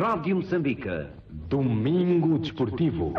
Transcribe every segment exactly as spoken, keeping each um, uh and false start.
Rádio Moçambique. Domingo Desportivo.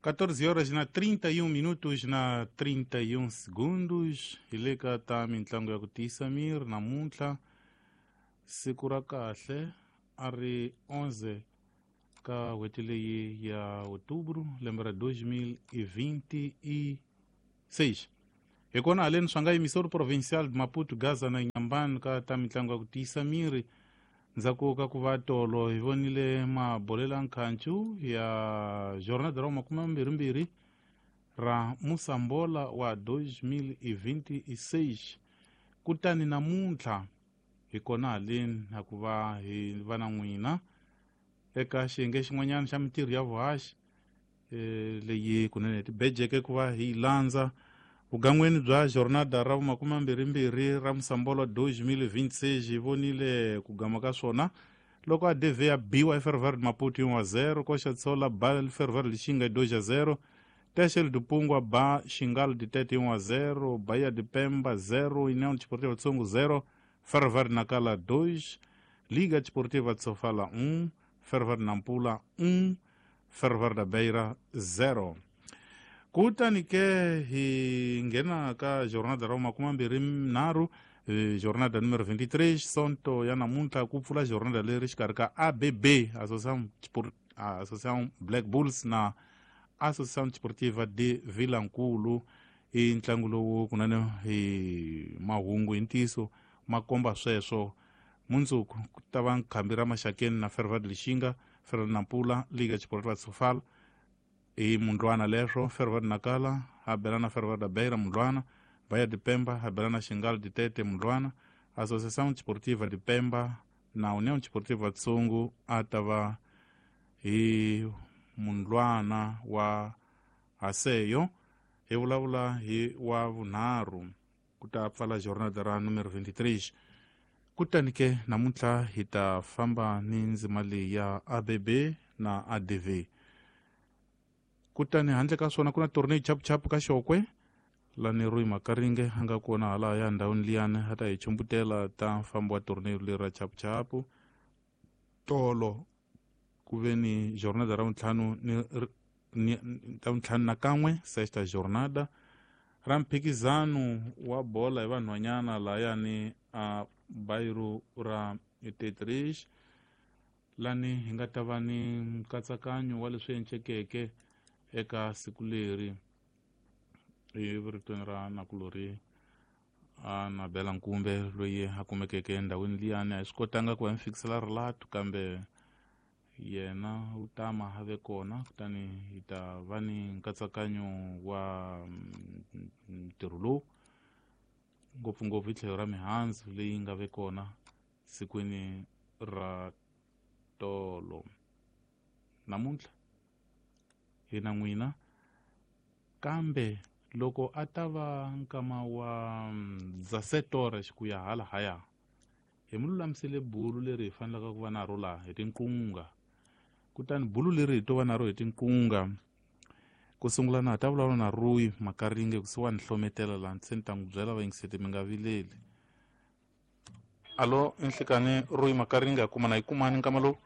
quatorze horas na trinta e um minutos na trinta e um segundos. Hi le ka ta mintlangu ya ku tiyisa miri namuntlha siku ra kahle a ri onze ka n'hweti leyi ya outubro lembe ra dois mil e vinte e seis. Hi kona haleni swa nga emissora provincial de Maputo, Gaza na Inhambane ka ta mitlangu ya ku tiyisa miri. Ndzhaku ka ku va tolo hi vonile mabolela nkhancu ya jornada ra makume mambirhimbirhi ra Moçambola wa dois mil e vinte e seis. Kutani namuntlha hi kona haleni na ku va hi va na n'wina eka xiyenge xin'wanyana xa mintirho ya vuhaxi e, leyi kunene tibejeke ku va hi landza vugan'weni bya jornada ra makume mambirhimbirhi ra Moçambola dois mil e vinte e seis. Hi vonile ku gama ka swona loko A D V ya biwa eFerroviário de Maputo um a zero, Coxa de Sola ba Ferroviário de Lixinga dois a zero, Teixeira do Pungwa ba Xingalo de Tete um a zero, Bahia de Pemba zero, União Desportiva de Songo zero, Ferroviário de Nacala dois, Liga Desportiva de Sofala um, Ferroviário de Nampula um, Ferroviário da Beira zero. Kutani ke hi nghena ka jornada ra makume mambirhi nharhu, jornada número vinte e três, sonto ya namuntlha ku pfula jornada leri xikarhi ka A B B, Associação Associação Black Bulls na Associação Desportiva de Vilankulu. I ntlangu lowu kunene hi mahungu hi ntiyiso ma komba sweswo. Mundzuku ku ta va nkhambi ra Maxakeni na Ferroviário de Lixinga, Ferroviário Nampula, Liga Desportiva de Sofala hi mundlwana leswo, Ferroviário Nacala a bela na Ferroviário da Beira mundlwana, Bahia de Pemba a bela na Xingalo de Tete mundlwana, Associação Desportiva de Pemba na União Desportiva de Songo a ta va hi mundlwana wa Haseyo. Hi vulavula hi wa vunharhu ku ta pfala jornada ra número vinte e três. Kutani ke namuntlha hi ta famba ni ndzima leyi ya A B B na A D V. Kutani handle ka swona ku na torneo chapuchapu ka Xokwe lani Rui Makaringe a nga kona hala ya ndhawini liyani a ta hi chumbutela ta mfambo wa torneo leri ra chapuchapu. Tolo ku ve ni jornada ra vuntlhanu ni, ni ta vuntlhanu na kan'we sexta jornada ra mphikizano wa bola hi vanhwanyana layani a bairro ra Tetris lani hi nga ta va ni nkatsakanyo wa leswi encekeke eka siku leri eritweni ra nakulori a Nabela Nkumbe loyi a kumekeke endhawini liyani. A hi swi kotanga ku va mi fikisela relato kambe yena u tama a ve kona, kutani hi ta va ni nkatsakanyo wa ntirho lowu ngopfungopfu hi tlhelo ra mihandzu leyi nga ve kona sikwini ra tolo. Namuntlha hi na n'wina, kambe loko a ta va nkama wa dezessete horas ku ya hala haya hi mi lulamisele bulu leri hi fanelaka ku va na ro laha hi tinqunga. Kutani bulu leri hi to va na ro hi tinqunga ku sungula na ha ta vulavula na Rui Makaringe kusuhani hlometela laha se ni ta n'wi byela vayingiseti mi nga vileli. Alo enhlekani Rui Makaringe a kuma na yi kumani nkama lowu?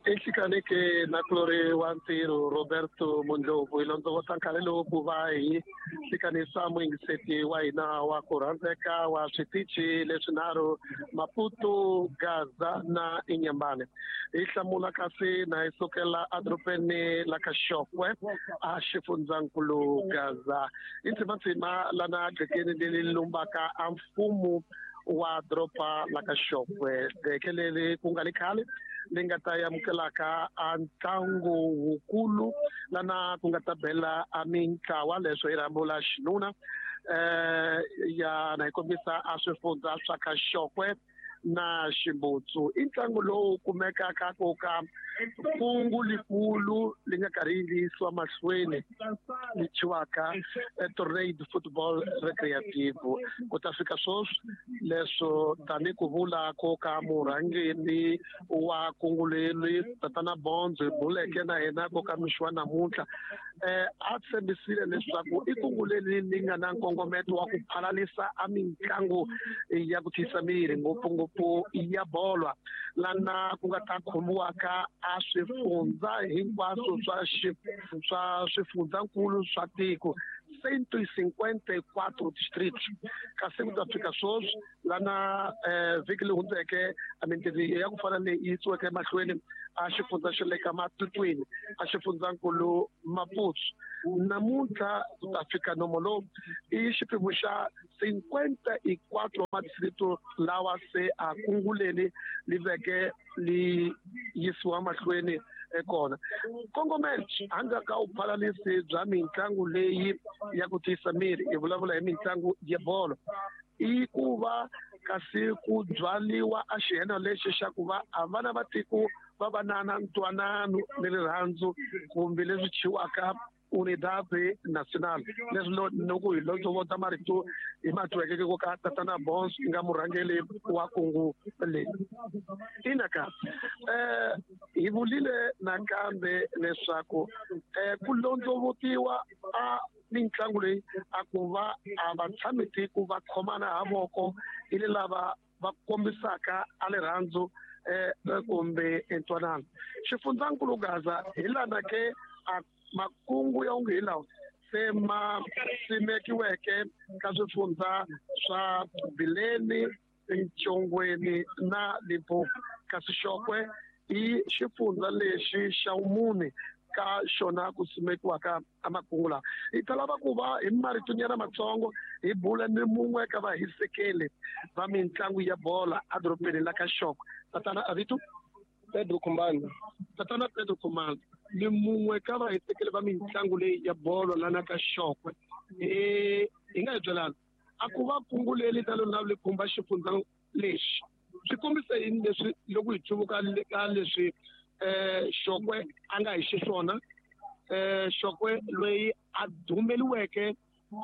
Enhlekani ke nakulori wa ntirho Roberto Mundlovu hi londzovota nkarhi lowu ku va hi hlekanisa muyingiseti wa hina wa ku rhandzeka wa switichi leswinharhu Maputo, Gaza na Inhambane. Hi hlamula kasi na hi sukela edorobeni la ka Xokwe a xifundzankulu Gaza. I ntsimantsima lana gqekeni leri lumbaka a mfumo wa doroba la ka Xokwe, gqeke leri ku nga li khale li nga ta amukelaka a ntlangu wukulu lana ku nga ta bela a mintlawa leswo hi rhambo la xinuna eh ya na hi kombisa a swifundza swa ka Xokwe na Ximbutsu. I ntlangu lowu kumekaka ku ka kungu likulu li nga karhi li yisiwa mahlweni li thyiwaka Tornado Football Recreative. Ku ta fika sweswi leswo tani ku vula ko ka murhangeri wa kungu leri Tatana Bonzo hi buleke na yena ko ka mixo wa namuntlha eh a tshembisile leswaku i kungu leri li nga na nkongometo wa ku phalalisa a mitlangu ya ku tiyisa miri ngopfungopfu ya bolo lana ku nga ta khomiwaka a swifundza hinkwaswo swa swa swifundzankulu swa tiko cento e cinquenta e quatro distritos kasi ku ta fika sweswi lana eh vhiki leyi hundzeke a mintirho ya ku fana leyi yisiweke emahlweni a xifundza xa le ka Matutwini a xifundzankulu Maputo namuntlha ku ta fika nomo lowu i xiphemu xa cinquenta e quatro madistrito lawa se a kunguleni li veke li yisiwa mahlweni kona kongomelo handle ka vuphalalisi bya mitlangu leyi ya ku tiyisa miri hi vulavula hi mitlangu ya bolo i ku va kasi ku byaliwa a xiheno lexi xa ku va a vana va tiko va va na na ntwanano ni rirhandzu kumbe leswi chiwaka Unidade Nacional leswi loko hi londzovota marito hi matweke ku ka tatana Bons nga murhangeri wa kungu leyi ina ka eh hi vulile nakambe leswaku eh ku londzovotiwa a mitlangu leyi a ku va a va tshami tiko va khomana ha voko hi le lava va kombisaka a rirhandzu eh kumbe ntwanano xifundzankulu Gaza hi lana ke a makungu ya onge hi lawa se ma simekiweke ka swifundza swa Bileni, Ntshongweni na Limpopo kasi Xokwe i xifundza lexi xa vumune ka xona ku simekiwaka amakungu lawa hi ta lava ku va hi maritonyana matsongo hi bula ni mun'we ka vahisekeli va mitlangu ya bola edorobeni la ka Xokwe tatana Avito Pedro Kumbani tatana Pedro Kumbani ni mun'we ka vahisekeli va mitlangu leyi ya bolo lana ka Xokwe eh hi nga hi byelana a ku va kungu leri ta lona li khumba xifundza lexi swi kombisa yini leswi loko hi cuvuka ka leswi eh Xokwe a nga hi xiswona eh Xokwe loyi a dumeliweke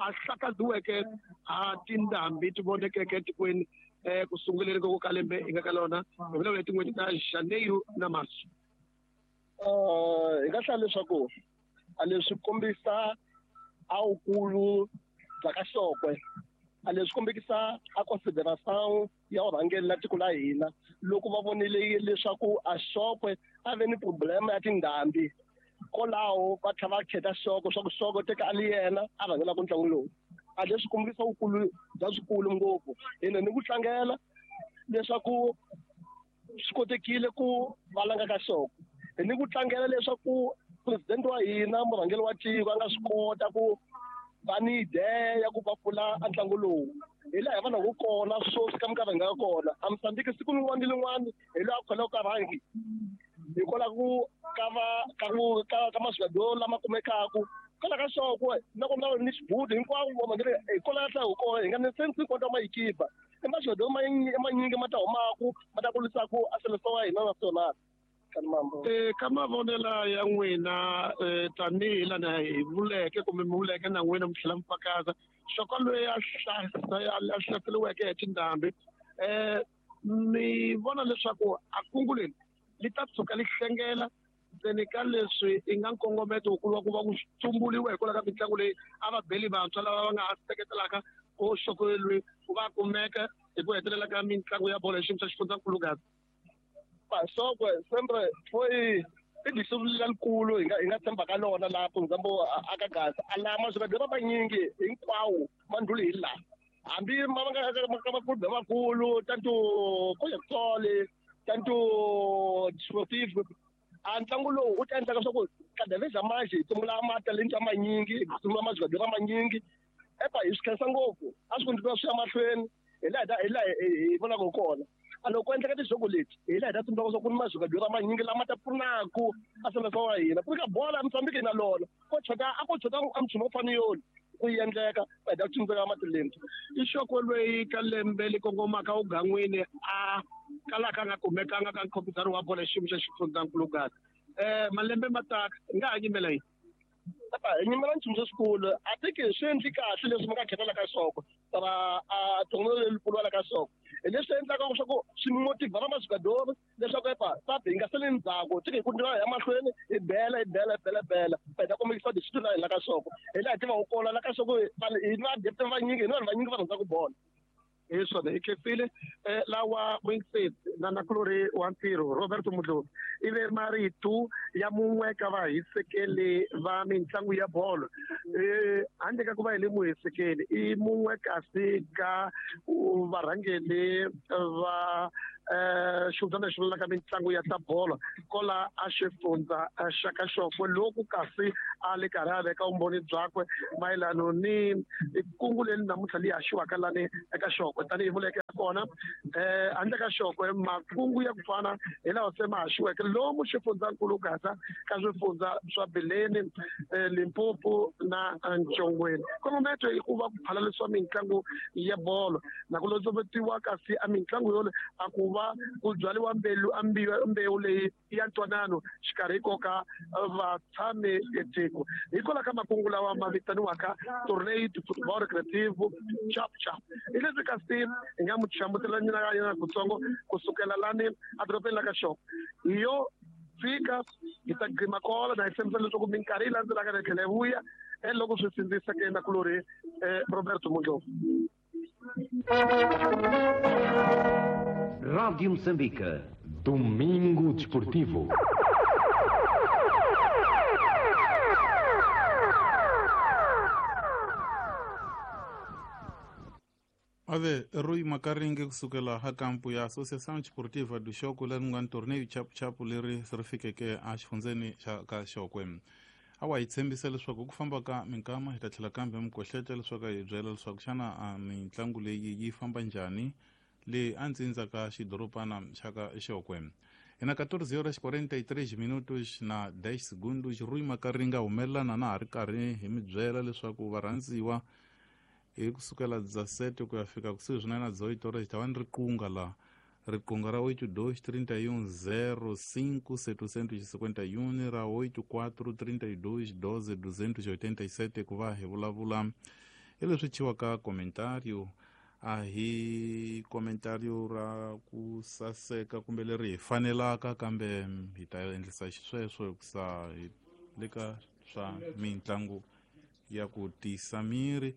a hlakaziweke a tindhambi ti vonekeke etikweni eh ku sunguleni ko ka lembe hi nga ka lona hi vulavula hi tin'hweti ta Janeiro na March eh hi nga hlaya leswaku a leswi kombisa a wukulu bya ka Xokwe a leswi kombekisa a consideração ya vurhangeri la tiko la hina loko va vonile leswaku a Xokwe a ve ni problema ya tindhambi kwalaho va tlhela va kheta Xokwe swa ku Xokwe teka a li yena a rhangelaka ntlangu lowu a leswi kombisa vukulu bya swikulu ngopfu ene ni ku tlangela leswaku swi kotekile ku valanga ka Xokwe ni ku tlangela leswaku president wa hina murhangeri wa tiko a nga swi kota ku va ni idea ya ku va pfula a ntlangu lowu hi laha hi vonaka kona sweswi ka minkarhi hi nga kona a Mozambique siku rin'wana ni rin'wana hi loyi a kholaka ka rhangi hikwalaho ku ka va ka ku ka ka maswigado lama kumekaku kwala ka Xokwe na ku na ni xibudu hinkwavo va hikwalaho ka hi kona hi nga ni sense hinkwato mayikipa i maswigado manyingi ma ta humaku ma ta kulisaku a seleção wa hina nacional eh ka mavonelo ya n'wina tanihi lana hi vuleke kumbe mi vuleke na n'wina mi tlhela mi fakaza Xokwe loyi a hlaseriweke hi tindhambi eh ni vona leswaku a kungu leri li ta tshuka li hlengela ntsena ka leswi i nga nkongometo wukulu wa ku va ku tsumbuliwa hikwalaho ka mitlangu leyi a va beli vantshwa lava va nga ha seketelaka ko Xokwe loyi ku va kumeka hi ku hetelela ka mitlangu ya bolo hi xiyimo xa xifundzankulu Gaza Xokwe sempre foi i distrito lelikulu hi nga hi nga tshemba ka lona laha for example aka Gaza a laha maswigado manyingi hinkwawo ma ndlhuli hi laha hambi ma nga ka makulu makulu tanto Coyexole tanto Desportivo a ntlangu lowu wu ta endlaka leswaku cada vez mais hi sungula matalenta manyingi hi sungula maswigado manyingi epa hi swi khensa ngopfu a swi kondliwa swi ya mahlweni hi laha hi laha hi vonaka kona a loko ku endleka tijogo leti hi laha hi ta tsundzuka leswaku ku ni maswigado manyingi lama ta pfunaku a seleção wa hina ku ri ka bola a Mozambique hi na lona ko chota a ko chota a nchumu wo fana yoni ku endleka va hi ta tsundzuka matalenta i Xokwe loyi ka lembe li kongomaka ugan'wini a kalaka a nga kumekanga ka nkhopisano wa bolo hi xiyimo xa xifundzankulu Gaza eh malembe ma taka hi nga ha nyimela yini hi nyimela nchumu lexikulu a tiki swi endli kahle leswi mi nga khetela ka Xokwe ra a tongono lelikulu wa la ka Xokwe Hi leswi endlaka leswaku swi motivha na majogador leswaku epa papi hi nga sali ndzhaku tiki hi ku ya mahlweni hi bela hi bela hi bela bela hi ta kombekisa discipline la ka Xokwe hi laha hi tivaka kona la ka Xokwe hi na depth vanyingi hi na vanhu vanyingi va rhandza ku bolo. Hi swona hi khensile lawa Wingset na nakulori wa ntirho Roberto Mudlovi i ve marito ya mun'we ka vahisekeli va mitlangu ya bolo handle ka ku va hi le muhisekeli i mun'we kasi ka varhangeli va xivutana lexi vulaka mitlangu ya ta bolo kola a xifundza xa ka Xokwe loku kasi a le karhi a veka vumbhoni byakwe mayelano ni kungu leri namuntlha leyi haxiwaka lani eka Xokwe tanihi vuleke kona eh handle ka Xokwe makungu ya ku fana hi lawa se ma haxiweke lomu xifundzankulu Gaza ka swifundza swa Bileni, Limpopo na Ntshongweni. Kongometo i ku va ku phalalisiwa mitlangu ya bolo na ku lotsovetiwa kasi a mitlangu yole a ku va ku byariwa mbewu mbewu leyi ya ntwanano xikarhi ko ka vatshami etiko hikwalaho ka makungu lawa ma vitaniwaka Tornado Football Recreative Chap Chap. Hi leswi kasi hi nga mu hlamusela nyana yena kutsongo kusukela lani edorobeni la ka Xokwe hi yo fika hi ta gqima kola na hi tshembisa leswaku minkarhi yi landzelaka hi tlhela hi vuya loko swi sindziseke nakulorhi Roberto Mudlovi. Rádio Moçambique. Domingo Desportivo. Ave Rui Makaringe kusukela ha kampu ya Associação Desportiva do Xokwe leri nga torneio chapu chapu leri ri fikeke a xifundzeni xa ka Xokwe. Awa hi tshembisa leswaku ku famba ka minkama hi ta tlhela kambe mikohleta leswaku hi byela leswaku xana mitlangu leyi yi famba njhani le a ntsindza ka xidorobana xa ka Xokwe. Hi na quatorze horas quarenta e três minutos na dez segundos. Rui Makaringa humelelana na ha ri karhi hi mi byela leswaku varhandziwa hi kusukela dezessete ku ya fika kusuhi swinene na dezoito horas ta va ni riqunga la riqunga ra oito dois trinta e um zero cinco setecentos e cinquenta e um ra oito quatro trinta e dois doze duzentos e oitenta e sete ku va hi vulavula hi leswi thyiwaka comentario a hi comentario ra ku saseka kumbe leri hi fanelaka kambe hi ta endlisa xisweswo hikusa hi le ka swa mitlangu ya ku tiyisa miri.